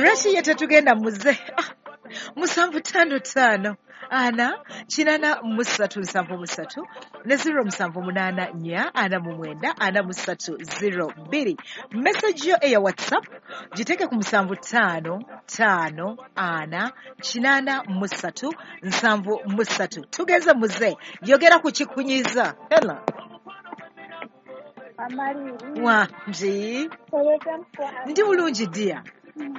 Lwaki ye tetugenda muze? 755 4 83 73 ne 0784 49 43 02. Message yo eya WhatsApp giteeke ku 755 4 83 73. Tugeze muze, yogera ku kikunyiza. Hello. Wangi. Ndi bulungi dear.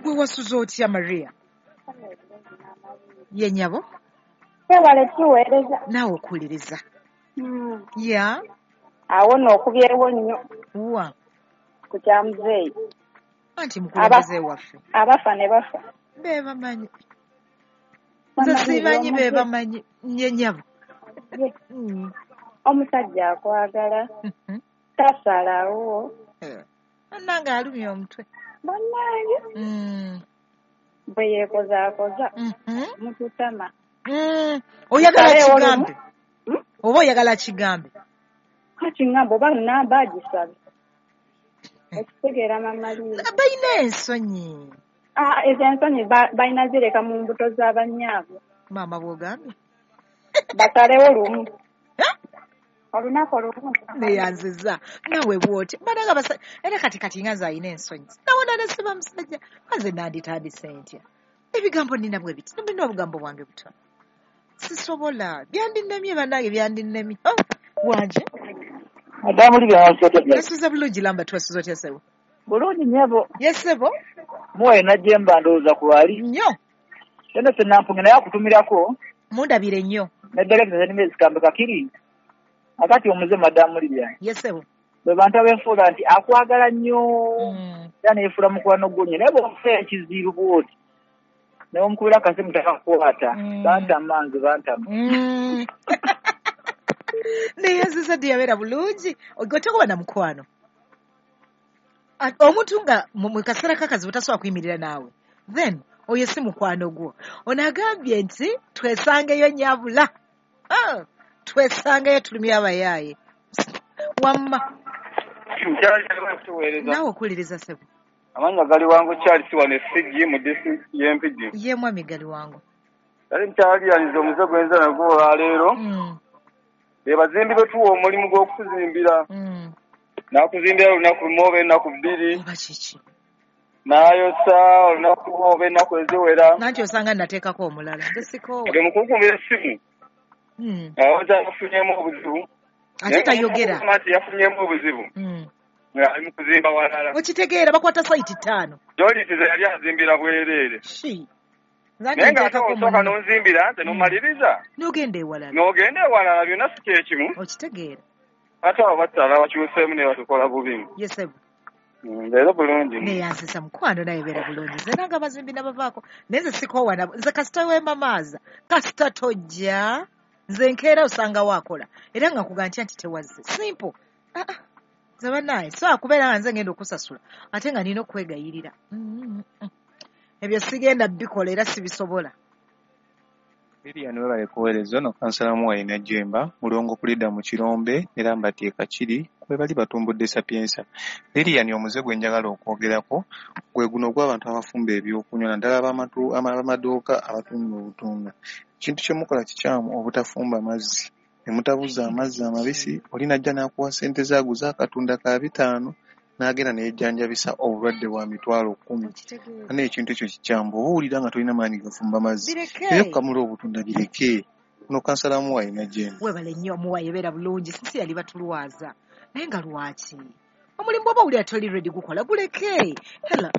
Gwe wasuze otya Maria? Ye nnyabo? Webale tuweereza. Naawe okuwuliriza. Ya. Awo nno okubyewo nnyo. Wa. Ku kya muzeeyi. Anti mukulembeze waffe. Abafa ne bafa. Be bamanyi. Nze simanyi be bamanyi. Ye nnyabo. Omusajja akwagala. Tasalawo. Annange alumya omutwe. Bannange. Bwe yeekozaakoza. Mututama. Oyagala kigambe. Oba oyagala kigambe. Kati ngamba oba namba agisabe. Okitegeera Mama Lili. Balina ensonyi. Ezo ensonyi balina zireka mu mbuto z'abannyaabwe. Maama bw'ogambye. Basalewo lumu. Olunaku olumu. Neyanziza. Naawe bw'oti. Bananga basa era kati nga nze alina ensonyi. Nawona ne siba musajja. Nze nanditandise ntya. Ebigambo nina bwe biti. Nina obugambo bwange butono. Sisobola. Byandinnemye bannange byandinnemye. Oh, wanje. Madamu Lili wasuze. Nasuze bulungi lamba twasuze otya ssebo? Bulungi nnyabo. Yes ssebo. Muwaye najjemba ndowooza ku lwali. Nnyo. Tena senampunge naye akutumirako. Mundabire nnyo. Naddala nze zikambe kakiri. Akati omuze Madamu Lili. Yes ssebo. Bwe bantu abeefuula nti akwagala nnyo. Era neyefuula mukwano gwo nnyo. Naye bw'omufa ekizibu bw'oti. Naye omukubira akasimu takakwata. Bantama nze bantama. Neyanziza ddi yabeera bulungi. Gwe tokuba na mukwano. Omuntu nga mu kaseera k'akazibu tasobola kuyimirira naawe. Then oyo si mukwano gwo. Ono agambye nti twesangeyo nnyabula. Twesangeyo tulumye abayaaye. Wamma. Naawe okuwuliriza ssebo. Amannya Galiwango Charles wano e Fiji mu disitulikiti y'e Mpigi. Ye mwami Galiwango. Kale nkyaliyaniza omuze gwenza nagwo olwaleero. Be bazimbi be tuwa omulimu gw'okutuzimbira. N'akuzimbira olunaku lumu oba ennaku bbiri. Oba kiki? N'ayosa olunaku lumu oba ennaku eziwera. Nanti osanga nnateekako omulala. Nze sikoowa. Ge mukunkumira essimu. Awoza yafunyeemu obuzibu. Ate tayogera. Nti yafunyeemu obuzibu. Ali mu kuzimba walala. Okitegeera bakwata sayiti 5. Jolitize yali azimbira bwereere. Naye ng'ate osooka n'onzimbira nze n'omaliriza. N'ogenda ewalala. N'ogenda ewalala byonna si kye kimu. Okitegeera. Ate abo bakyala bakyuseemu ne batukola bubi. Yes ssebo. Leero bulungi. Neyanziza mukwano naye beera bulungi. Nze nange abazimbi nabavaako. Naye nze sikoowa nabo. Nze kasita weemamaaza. Kasita tojja. Nze nkeera osanga waakola. Era nga nkuga ntya nti tewazze. Simple. Nze bannange so kubeera nga nze ngenda okusasula ate nga nina okwegayirira. Ebyo sigenda bikola era sibisobola. Lilian webale kuweereza ono kansala Muwayi Najjemba mulongo kulidda mu Kirombe era mbateeka kiri kwe bali batumbudde Sapienza. Lilian omuze gwe njagala okwogerako gwe guno ogw'abantu abafumba ebyokunywa naddala ab'amaduuka abatunda obutunda. Ekintu kye mukola kikyamu obutafumba mazzi. Ne mutabuza amazzi amabisi oli n'ajja n'akuwa ssente ze aguze akatunda ka 5 n'agenda ne yejjanjabisa obulwadde bwa 10,000. Naye ekintu ekyo kikyamu bw'oba owulira nga tolina maanyi gafumba mazzi naye okukamula obutunda bireke. Ono kansala Muwayi Najjemba. Webale nnyo Muwayi beera bulungi sisi yali batulwaza. Naye nga lwaki? Omulimu bw'oba owulira toli ready gukola guleke. Hello.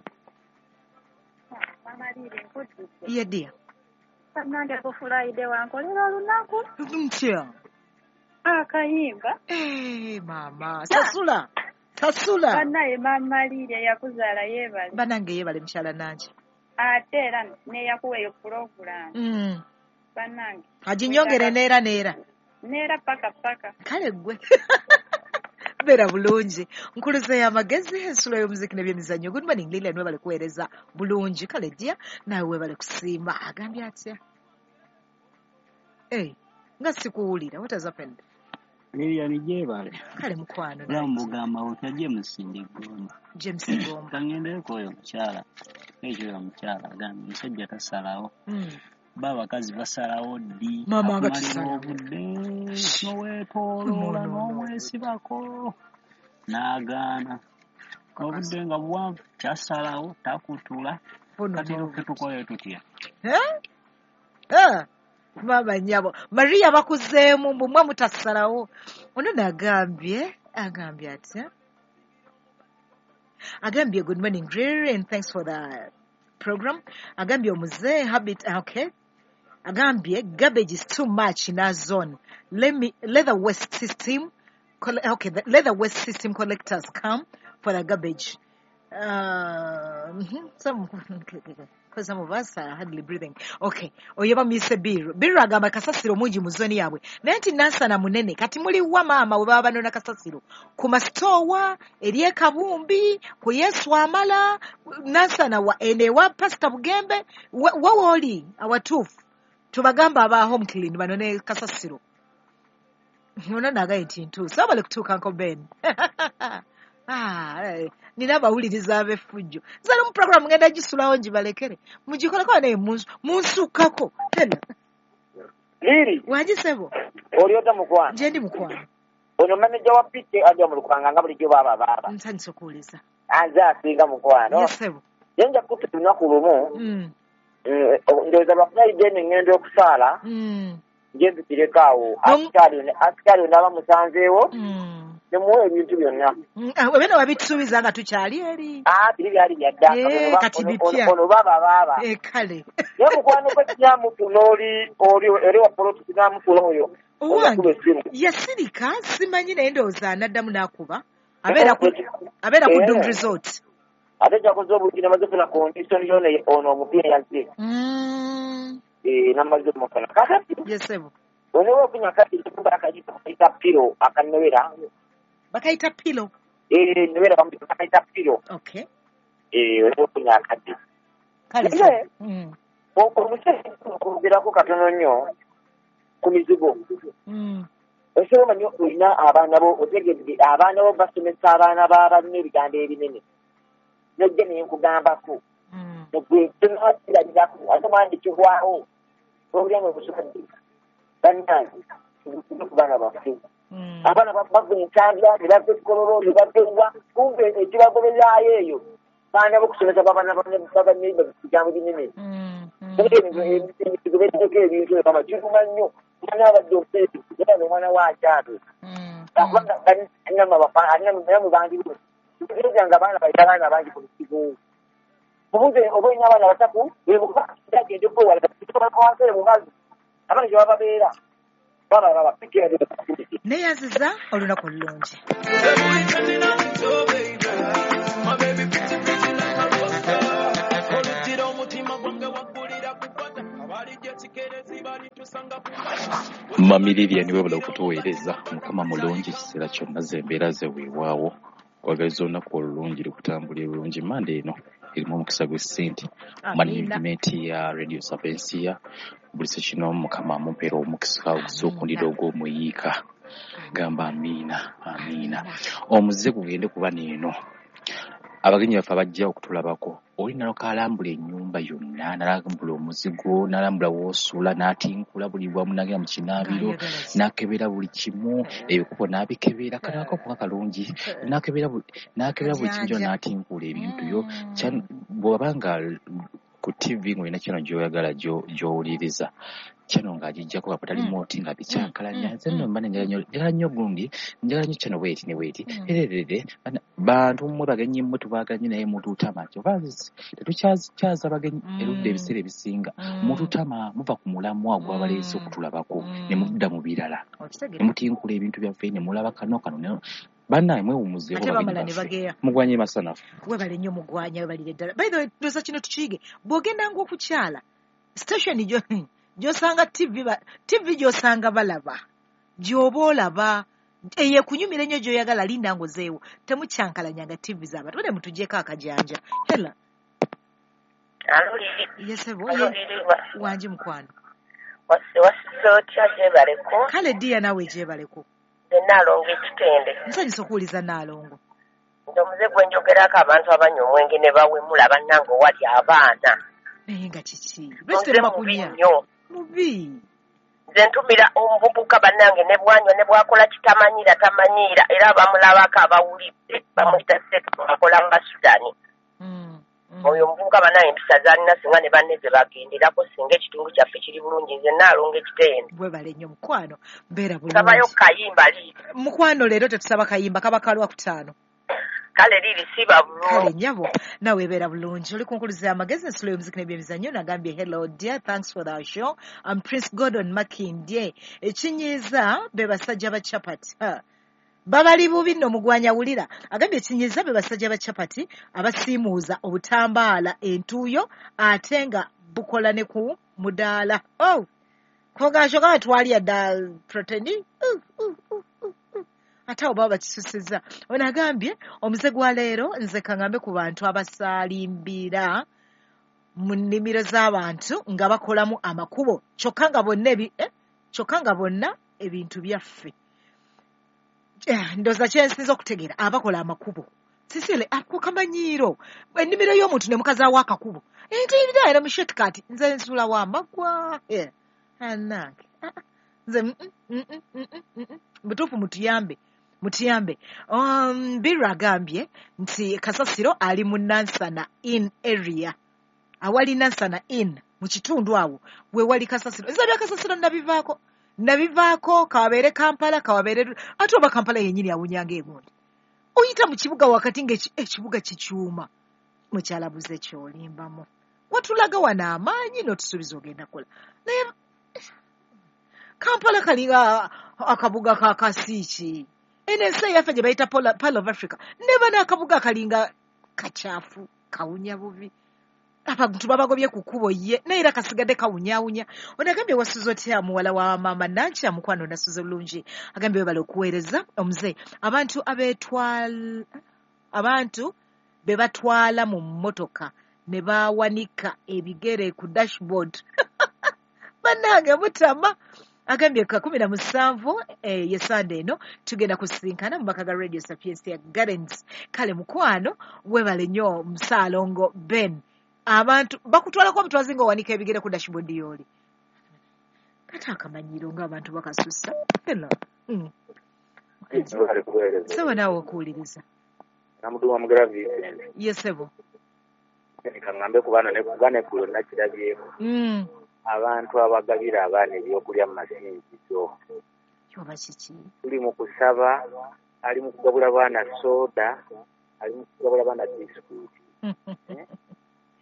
Mama Lili nkujjudde. Ye dear. Bannange ku Friday wankolera olunaku. Ntya. Akayimba. Maama sasula. Sasula. Bannaye Mama Lili eyakuzaala yeebale. Bannange yeebale mukyala Nange. Ate era n'eyakuwa eyo pulogulaamu. Bannange. Aginyongere neera neera. Neera paka paka. Kale ggwe. Beera bulungi. Nkuluze y'amagezi ensulo y'omuziki n'ebyemizannyo. Good morning Lilian webale kuweereza bulungi. Kale dear naawe webale kusiima. Agambye atya? Nga sikuwulira. What has happened? Lilian gyebale. Kale mukwano. Bulamu bugamba otya James Ndigomba. James Ngomba. Kangendereko oyo mukyala. Ekyo omukyala agambye omusajja tasalawo. Ba abakazi basalawo ddi? Maama nga Akumalira tusalawo. obudde n'oweetooloola n'omwesibako n'agaana. Obudde nga buwanvu kyasalawo takutula. Kati ffe tukole tutya? Maama nnyabo Maria bakuzeemu mbu mmwe mutasalawo. Ono nagambye agambye atya? Agambye good morning Riri and thanks for the program. Agambye omuze habit okay. Agambye garbage is too much in our zone. Let the waste system let the waste system collectors come for the garbage. Some because some of us are hardly breathing. Okay. Oyo bamuyise Biru. Biru agamba kasasiro mungi mu zone yaabwe. Naye nti Nansana munene kati muli wa maama we baba banona kasasiro. Ku masitoowa eri e Kabumbi, ku Yesu Amala, Nansana wa ene wa Pastor Bugembe, wa wooli awatuufu. Tubagamba aba home clean banone kasasiro. Ono nagaye nti ntuuse. Wabale kutuuka Uncle Ben. Nina abawuliriza ab'effujjo. Nze mu program ngenda gisulawo ngibalekere. Mugikoleko naye munsukako. Hello. Liri. Wangi ssebo. Oli ota mukwano. Nje ndi mukwano. Ono manager wa PK ajja mu Lukanga nga bulijjo baaba baaba. Nsanyuse okuwuliza. Anze asinga mukwano. Yes ssebo. Ye nja kutta lunaku lumu. Ndowooza lwa Friday ne ngenda okusaala. Nje nzikireko awo. Asikaali onaaba musanzeewo. Nemuwa ebintu byonna. Ebyo wabitusuubiza nga tukyali eri. Biri byali bya dda. Kati bipya. Ono baaba baaba. Kale. Naye mukwano gwe kinamufuna oli wa poloti kinamufuna oyo. Owange yasirika simanyi naye ndowooza anaddamu n'akuba. Abeera ku Doom Resort. Ate kyakoze obulungi namaze okufuna condition yona ono omupiira yazze. Namaze okumufuna. Kakati. Yes ssebo. Ono okunya kati akayita pilo akanowera. Bakayita pilo. Nowera bakayita pilo. Okay. Okunya akati. Kale. Omusajja okwogerako katono nnyo ku mizigo. Osobola omanyi olina abaana bo otegedde abaana bo basomesa abaana b'abalina ebigambo ebinene. Nojja naye nkugambako. Gwe tonakirabirako ate omwana kigwawo. Owulira nga omusomedde. Bannange ku baana baffe. Abaana bava ensambya ne bava ekikololo ne bava ewa kumbe ekibagobererayo eyo baana bokusomesa babanne bigambo binene. Emizigo beddeko ebintu ebama kiruma nnyo. Omwana abadde omuseezi omwana we akyatwe. Kubanga namwe bangi tutegeeza nga abaana balina abaana bangi ku mizigo. Mubuuze oba olina abaana basatu agende okwewala wansere mu mazzi abaana gye baba babeera. Neeyanziza olunaku olulungi. Mami Lilian webala okutuweereza. Mukama mulungi ekiseera kyonna ze embeera ze weewaawo. Kwagaliza olunaku olulungi lukutambulira bulungi. Mande eno erimu omukisa gw'essente. Management ya Radio Sapientia buli sekino Mukama amumpeera omukisa ogusukundira ogw'omuyiika. Gamba amiina amiina. Omuze gugende kuba neeno. Abagenyi baffe abajja okutulabako oli naloka alambula ennyumba yonna n'alambula omuzigo n'alambula w'osula n'atinkula buli wamu n'agenda mu kinaabiro n'akebera buli kimu ebikopo n'abikebera kanako kuba kalungi n'akebera buli kimu kyonna n'atinkula ebintu byo. Bw'oba nga ku TV ng'olina channel gy'oyagala gy'owuliriza channel ng'agiggyako nga patali moti nga bikyankalanya. Nze nno mba njagala nnyo gundi njagala nnyo channel bweti ne bweti ererere bantu mmwe bagenyi mmwe tubaagala nnyo naye mututama kyova tetukyakyaza bagenyi erudda ebiseera ebisinga mututama muva ku mulamwa gw'abaleese okutulabako ne mudda mu birala ne mutinkula ebintu byaffe ne mulaba kano kano bannaye mwewummuzeeko bagenyi baffe mugwanye masanafu. Webale nnyo mugwanya webalire ddala. By the way ndowooza kino tukiyige bw'ogendanga okukyala station gy'osanga TV gy'osanga balaba gy'oba olaba eyo ekunyumira ennyo gy'oyagala linda ng'ozeewo temukyankalanyanga TV z'abantu bane mutuggyeko akajanja. Hela. Yes ssebo. Wangi mukwano. Wasise otya gyebaleko? Kale ddiya naawe gyebaleko. Naalongo ekitende. Nsanyusa okuwuliza Naalongo. Nze omuze gwe njogerako abantu abanywa omwenge ne bawemula bannange owali abaana. Naye nga kiki? Muze mubi nnyo. Mubi. Nze ntumira omuvubuka bannange ne bwanywa ne bwakola kitamanyiira tamanyiira era abamulabako abawulidde bamuyita akola nga Sudani. Oyo omuvubuka bannange empisa z'alina singa ne banne ze bagenderako singa ekitundu kyaffe kiri bulungi nze nnaalonga ekitende. Bwebale nnyo mukwano, mbeera bulungi. Sabayo kayimba liiri. Mukwano leero tetusaba kayimba kaba ka Lwakutaano. Kale liri siba bulungi. Kale nnyabo nawe beera bulungi. Oli ku nkuluze y'amagezi ensulo y'omuziki n'ebyemizannyo nagambye hello dear, thanks for the show. I'm Prince Gordon Makindye. Ekinyiiza be basajja ba chapati. Babali bubi nno mugwanya wulira. Agambye ekinyiiza be basajja ba chapati abasiimuuza obutambaala entuuyo ate nga bukola ne ku mudaala. Oh! Kogasho kama twalya dda protein. Ate awo baba bakisusizza. Ono agambye omuze gwa leero nze kaŋŋambe ku bantu abasaalimbira mu nnimiro z'abantu nga bakolamu amakubo kyokka nga bonna ebintu byaffe. Ndowooza kye nsinza okutegeera abakola amakubo. Sisile ako kamanyiiro ennimiro y'omuntu ne mukazaawo akakubo. Ntiyirira era mu shortcut nze nsula wa magwa. Annange. Nze butuufu mutuyambe. Mutiyambe. Biru agambye nti kasasiro ali mu Nansana in area. Awali Nansana in mu kitundu awo we wali kasasiro. Nze bya kasasiro nabivaako. Nabivaako kawabeere Kampala kawabeere ate oba Kampala yennyini awunyanga egundi. Oyita mu kibuga wakati ng'ekibuga kikyuma. Mukyala buze ky'olimbamu. Watulaga wano amaanyi n'otusuubiza ogenda kukola. Naye Kampala kalinga akabuga ka kasiiki. Eno ensi eyaffe gye bayita Pearl of Africa. Neba n'akabuga kalinga kacaafu, kawunya bubi. Abantu babagobye ku kkubo ye, naye era kasigadde kawunyaawunya. Ono agambye wasuze otya muwala wa maama Nankya mukwano nasuze bulungi. Agambye webale okuweereza omuze. Abantu abantu be batwala mu mmotoka ne bawanika ebigere ku dashboard. Bannange mutama. Agambye 17 ye Sande eno tugenda kusisinkana mu maka ga Radio Sapientia Gardens. Kale mukwano webale nnyo Musaalongo Ben. Abantu bakutwalako obutwazi ng'owanika ebigere ku dashboard y'oli. Kati akamanyiiro ng'abantu bakasussa. Hello. Sebo naawe okuwuliriza. Namuduwa Mugera Vincent. Ye sebo. Kaŋŋambe ku baana neggulo nakirabyeko. Abantu abagabira abaana ebyokulya mu masinzizo. Oba kiki? Tuli mu kusaba, ali mu kugabula baana soda, ali mu kugabula baana bisikuiti.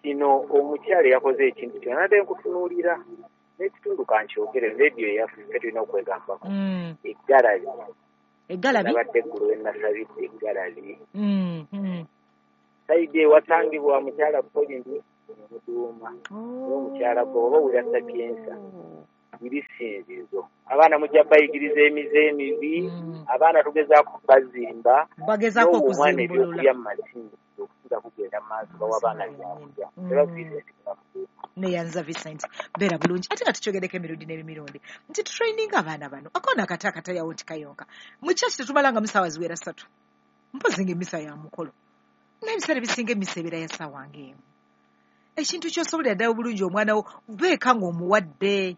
Kino omukyala yakoze ekintu kino nadde nkutunuulira n'ekitundu kankyogere rediyo eyaffe tulina okwegambako. Eggalabi. Eggalabi? Nabadde eggulo we nasabidde eggalabi. Sayidi ewatangibwa mukyala Pauline Muduuma. N'omukyala gwe oba owulira Sapiensa biri ssinzizo. Abaana mujja bayigiriza emize emibi, abaana tugezaako bazimba, bagezaako n'omwana okuzimbulula. ebyokulya mu masinzizo okusinza kugenda mu maaso bawa abaana byakulya. Era Vincent Neyanza Vincent beera bulungi. Ate nga tukyogereko emirundi n'emirundi nti tutraininga abaana bano. Akoona akati akatayawo nti kayonka. Mu kyaki tetumalanga mu ssaawa ziwera 3. Mpozi ng'emmisa ya mukolo. Naye ebiseera ebisinga emmisa ebeera ya ssaawa ng'emu. Ekintu ky'osobolera ddala obulungi omwana wo beeka ng'omuwadde.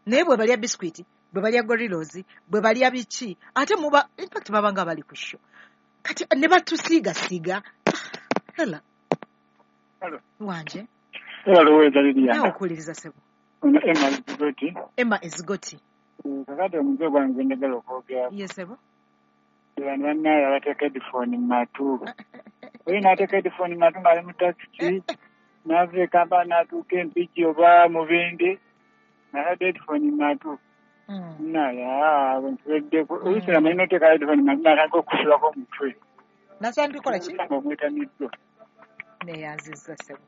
Naye bwe balya bisikuiti, bwe balya gorillos, bwe balya biki, ate muba in fact baba nga bali ku show. Kati ne batusiigasiiga. Hello. Hello. Wanje. Hello, Lilian. Naawe okuwuliriza ssebo. Ono Emma Ezigoti. Emma Ezigoti. Kakati omuze gwange gwe njagala okwogerako. Ye ssebo. Bano bannaye abateeka headphone mu matu. Oyo n'ateeka headphone mu matu ng'ali mu takisi, n'ava e Kampala n'atuuka e Mpigi oba Mubende, n'atadde headphone mu matu. Naye ntuweddeko. Oluusi amanyi n'oteeka headphone mu matu n'atandika okusulako omutwe. Nasandika kukola ki? Nga omwetamiddwa. Neyanzizza ssebo.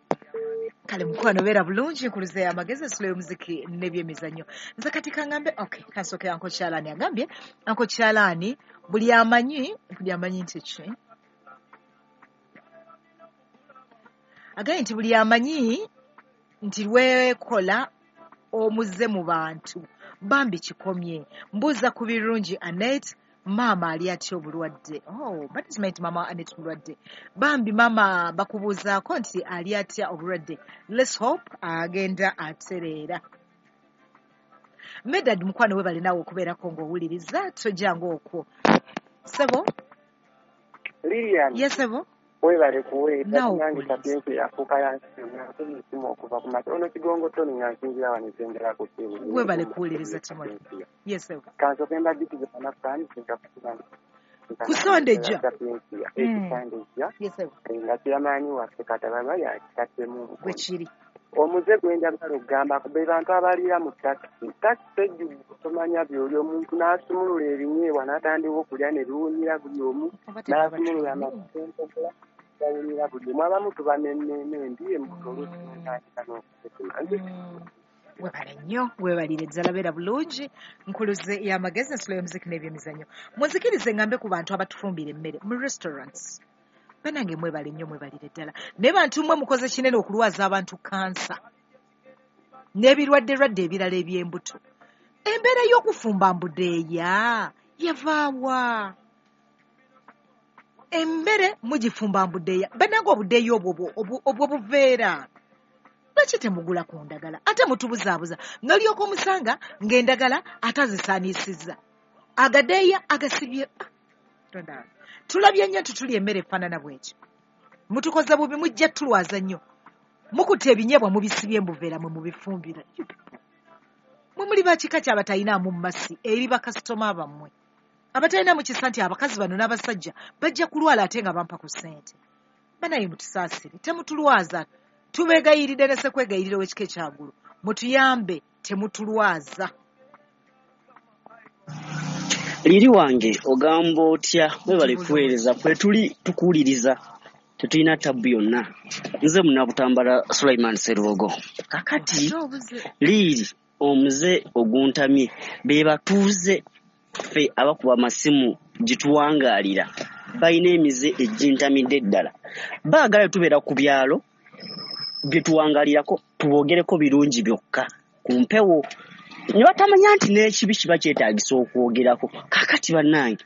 Kale mukwano beera bulungi nkuluze amagezi ensulo y'omuziki n'ebyemizannyo. Nze kati kaŋŋambe okay kansooke Uncle Kyalaani agambye Uncle Kyalaani buli amanyi nti ki? Agambye nti buli amanyi nti lwekola omuze mu bantu bambi kikomye. Mbuuza ku birungi Annette Maama ali atya obulwadde? Oh, management mama Anet mulwadde. Bambi maama bakubuuzaako nti ali atya obulwadde. Let's hope agenda atereera. Medad mukwano webale naawe okubeerako ng'owuliriza, tojjanga okwo. Sebo? Lilian. Yes, sebo? Webale kuweereza, nange Sapiensia yafuuka yansimu okuva ku makya. Ono Kigongo Tony nga nsinzira wano Ssendera ku ttiimu. Webale kuwuliriza Timothy. Yes, sebo. Kansooke mbajjukize bannaffe nti Kusondejja. Sapiensia ekisandejja. Yes, sebo. Nga kyamaanyi waffe Katababa yakitaddemu omukono. Bwe kiri. Omuze gwe njagala okugamba be bantu abaliira mu takisi. Takisi ejjudde tomanya by'oli, omuntu n'asumulula ebinyeebwa n'atandika okulya ne biwunyira buli omu, n'asumulula amatempogola gawunyira buli omu. Abamu tuba n'emmeeme embi embuto oluusi n'otandika n'okutekema. Webale nnyo, webalire ddala, beera bulungi. Nkuluze y'amagezi, ensulo y'omuziki n'ebyemizannyo. Munzikirize ngambe ku bantu abatufumbira emmere mu restaurants. Bannange mwebale nnyo, mwebalire ddala. Naye bantu mmwe mukoze kinene okulwaza abantu kansa n'ebirwadde-lwadde ebirala eby'embuto. Embeera y'okufumba mbudeeya yavaawa? Emmere mugifumba mbudeeya. Bannange obudeeya obwo buveera. Lwaki temugula ku ndagala? Ate mutubuzaabuza. N'olyoka omusanga ng'endagala ate azisaaniisizza. Agadeeya agasibye. Tulabye nnyo nti tulya emmere efaanana bw'etyo. Mutukoze bubi, mujja tulwaza nnyo. Mukutte ebinyeebwa mubisibye mbuveera mwe mubifumbira. Mwe muli ba kika ky'abatalinamu mmasi eri bakasitoma bammwe. Abatalinamu kisa nti abakazi bano n'abasajja bajja kulwala ate nga bampa ku ssente. Banaye mutusaasire, temutulwaza. Tubeegayiridde ne ssekwegayirira ow'ekika ekyaggulu. Mutuyambe, temutulwaza. Liri wange ogamba otya? Webale kuweereza, kwe tuli tukuwuliriza, tetulina tabbu yonna. Nze Munnabutambala Sulaiman Sserubogo. Kakati Liiri omuze oguntamye be batuuze ffe abakuba amasimu gye tuwangaalira balina emize egintamidde ddala. Baagala tubeera ku byalo bye tuwangaalirako tuboogereko birungi byokka ku mpewo, ne batamanya nti n'ekibi kiba kyetaagisa okwogerako. Kaakati bannange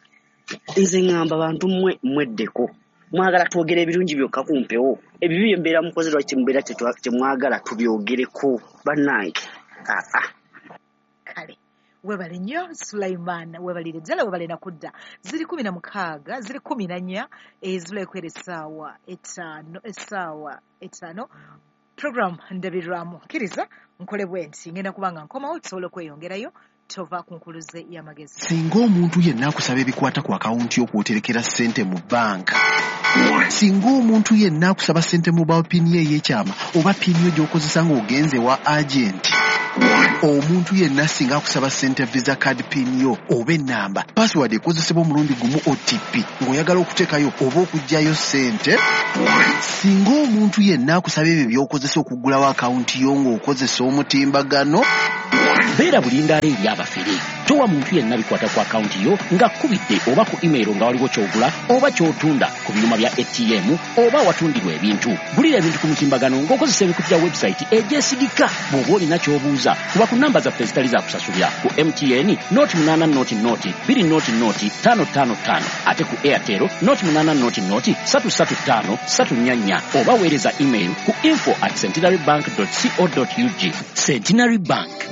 nze ŋŋamba bantu mmwe mweddeko, mwagala twogere ebirungi byokka ku mpewo, ebibi bye mbeera mukoze lwaki mubeera temwagala tubyogereko bannange? Aa kale webale nnyo Sulaiman, webalire ddala, webale nakudda. Ziri 16, ziri 14 ezibula essaawa 5, essaawa 5. Program ndabirwamu. Kkiriza nkole bwe nti ngenda kubanga nkomawo tusobole okweyongerayo. Tova ku nkuluze y'amagezi. Singa omuntu yenna akusaba ebikwata ku akawunti y'okwoterekera ssente mu banka, singa omuntu yenna akusaba ssente mobile pin ye ey'ekyama oba pin yo gy'okozesa ng'ogenze wa agenti, omuntu yenna singa akusaba ssente visa card pin yo oba ennamba, password ekozesebwa omulundi gumu OTP ng'oyagala okuteekayo oba okuggyayo ssente, singa omuntu yenna akusaba ebyo by'okozesa okuggulawo akawunti yo ng'okozesa omutimbagano, beera bulindaala eri abafere. Towa muntu yenna bikwata ku akawunti yo ng'akkubidde oba ku email nga waliwo ky'ogula oba ky'otunda ku byuma bya ATM oba awatundirwa ebintu. Gulira ebintu ku mutimbagano ng'okozesa emikutu gya website egyesigika. Bw'oba olina ky'obuuza, kuba ku namba zaffe ezitali za kusasulira ku MTN 0800 0 0 5 5 5, ate ku Airtel 0800 335 344, oba weereza email ku info@centenarybank.co.ug. Centenary Bank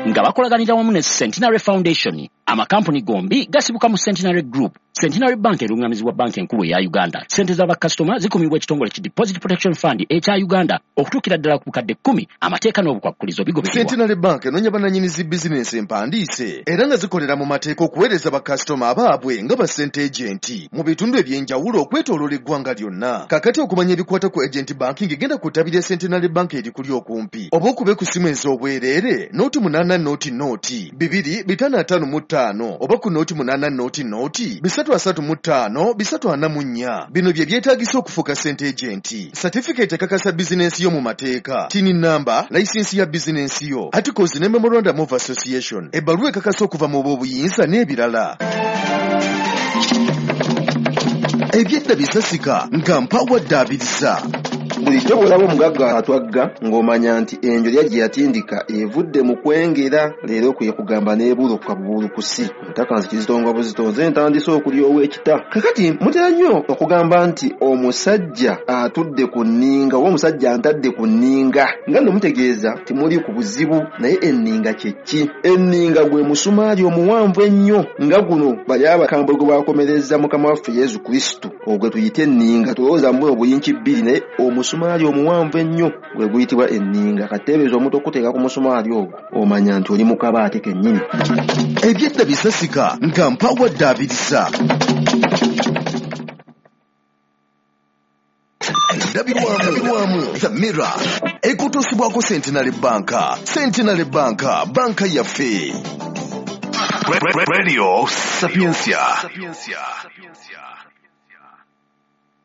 nga bakolaganira wamu ne Centenary Foundation. Amakampuni gombi gasibuka mu Centenary Group. Centenary Bank erungamizibwa banka enkulu eya Uganda. Ssente z'abakasitoma zikumibwa ekitongole ki Deposit Protection Fund ekya Uganda okutuukira ddala ku bukadde 10. Amateeka n'obukwakkulizo bigobererwa. Centenary Bank enoonya bannannyini zi bizinensi empandiise era nga zikolera mu mateeka okuweereza bakasitoma abaabwe nga ba ssente agenti mu bitundu eby'enjawulo okwetooloola eggwanga lyonna. Kaakati okumanya ebikwata ku agent banking, genda ku ttabi lya Centenary Bank erikuli okumpi oba okube ku ssimu ez'obwereere 0800 0 2 555 oba ku 0800 0 335 344. Bino bye byetaagisa okufuuka ssente agenti: certificate ekakasa bizinensi yo mu mateeka, TIN number, layisinsi ya bizinensi yo, articles ne memorandum of association, ebbaluwa ekakasa okuva mu b'obuyinza n'ebirala. Ebyedda bisasika nga mpawadde abiriza. Bulijjo bw'olaba omugagga atwagga ng'omanya nti enjolya gye yatindika evudde mu kwengera, leero kwe kugamba n'ebuuluka bubuulukusi. Ntakanzi kizitonga buzitonze ntandise okulyowa ekita. Kakati mutera nnyo okugamba nti omusajja atudde ku nninga oba omusajja antadde ku nninga, nga nno mutegeeza timuli ku buzibu. Naye enninga kye ki? Enninga gwe musumaali omuwanvu ennyo nga guno bali abakambwe gwe bakomereza Mukama waffe Yesu Kristo, ogwe tuyite enninga. Tulowooza mu obuyinki bbiri, naye omusumaali omuwanvu ennyo gwe guyitibwa enninga. Kateebereza omuntu okuteeka ku musumaali ogwo, omanya nti oli mu kabaate kennyini. Ebyedda bisasika nga mpawadde abiriza. Endabirwamu The Mirror ekutuusibwako Centenary Bank. Centenary Bank, banka yaffe. Radio Sapientia.